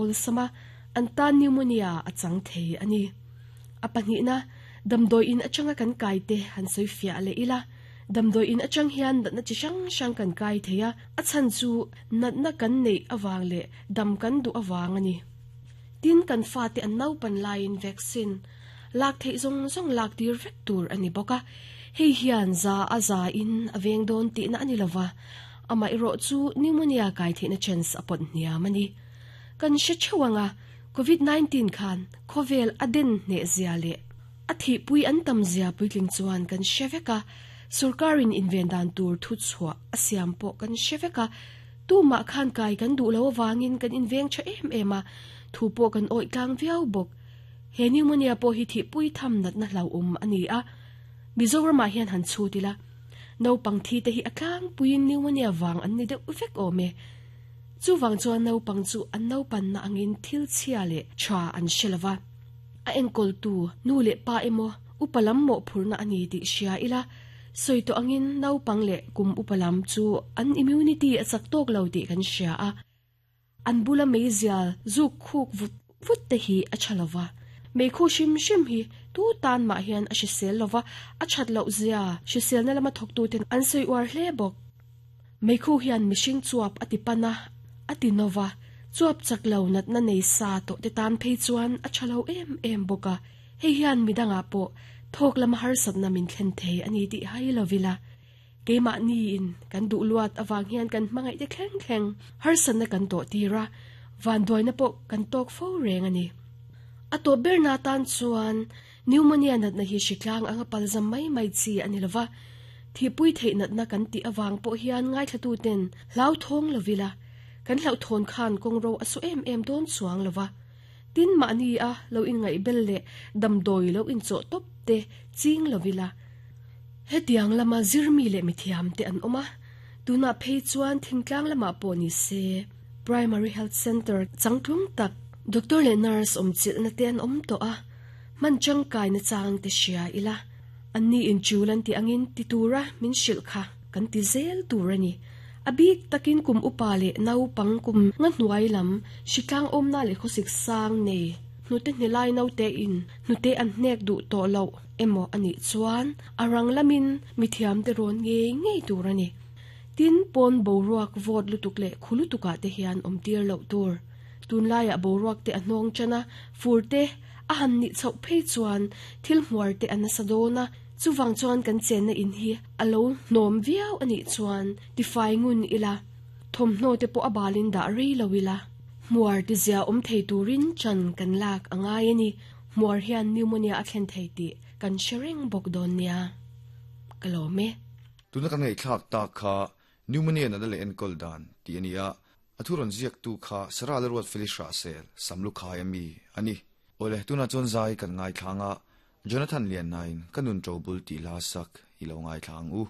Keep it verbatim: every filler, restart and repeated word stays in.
Olsama an tan pneumonia a chang thei ani. A pahnih na damdoi in atanga kan kai te han soi fia le ila. Damdoi in atang hian natna chi hrang hrang kan kai theia a chan chu natna kan nei awang le dam kan du awang ani. Tin kan fa te an nau pan lain vaccine lak thei zong zong lak tir vek tur ani boka. Hei hian za a za in aveng don ti na ani lova ama iro chu pneumonia kai the na chance apot nia mani. Kan she chewanga covid nineteen khan khovel aden ne zia le athi pui an tam zia puitling chuan kan sheveka sarkarin invendan tur thu chua asiam po kan sheveka tu ma khan kai kan du lo wangin kan inveng cha em ema thu po kan oi tlang viau bok. He pneumonia po hi thi pui tham nat na hlau um ani a. Mizoram ma hian han chu tila no pang thi te hi aklang puin pneumonia wang an ni de vek ome. Chu wang chuan no pang chu an no pan na angin thil chhia le cha an shelawa a enkol tu nu le pa emo upalam mo phurna ani ti shia ila. Soi to angin no pang le kum upalam chu an immunity a chak tok lo ti kan shia a. An bula meizial zu khuk vut vut te hi a chalawa mei khu shim shim hi tu tan ma hian a shisel lova a chat lo zia shisel na lama thok tu ten an sei war hle bok. Mei khu hian mishing chuap atipana atinova chuap chak lo nat na nei sa to te tan phei chuan a chalo em em boka. Hei hian midanga po thok lama har sat na min thlen thei ani ti hai lovila. Keima ni in kan du luat awang hian kan mangai te thleng thleng har san na kan to tira van doi na po kan tok fo reng ani. Ato ber na tan chuan pneumonia nat na hi shiklang anga palzam mai mai chi ani lova thi pui thei nat na kan ti awang po hian ngai thlatu ten hlau thong lovila kan hlau thon khan kong ro asu em em don chuang lova tin ma ni a lo in ngai bel le dam doi lo in cho top te ching lovila. Hetiang lama zirmi le mithiam te an oma tuna phei chuan thingtlang lama po ni se primary health center changtlung tak doctor le nurse om chil na te an om to a man chang kai na chang te shia ila anni in chulan ti angin ti tura min shil kha kan ti zel turani abik takin kum upale nau pang kum nga hnuai lam shiklang om na le khosik sang nei hnute hnilai nau te in hnute an hnek du to lo emo ani chuan arang lamin mithiam te ron nge ngei turani tin pon boruak vot lutuk le khulutuka te hian om tir lo tur tunlaya boruak te anong chana furte a han ni chau phei chuan thil hmuar te anasadona chuwang chuan kan chen na in hi alo nom viau ani chuan ti fai ngun ila thomhno te po abalin da rei lowila hmuar ti zia om thei turin chan kan lak angai ani hmuar hian pneumonia a thlen thei ti kan sharing bok don nia kalome tuna kan ngai thlak ta kha pneumonia na le enkol dan ti ania athuron ziak tu kha sara le ruat felisha sel samlu khai ami ani ole tuna chon zai kan ngai thlanga Jonathan Lian nine kanun trobul ti la sak ilo ngai thlang u.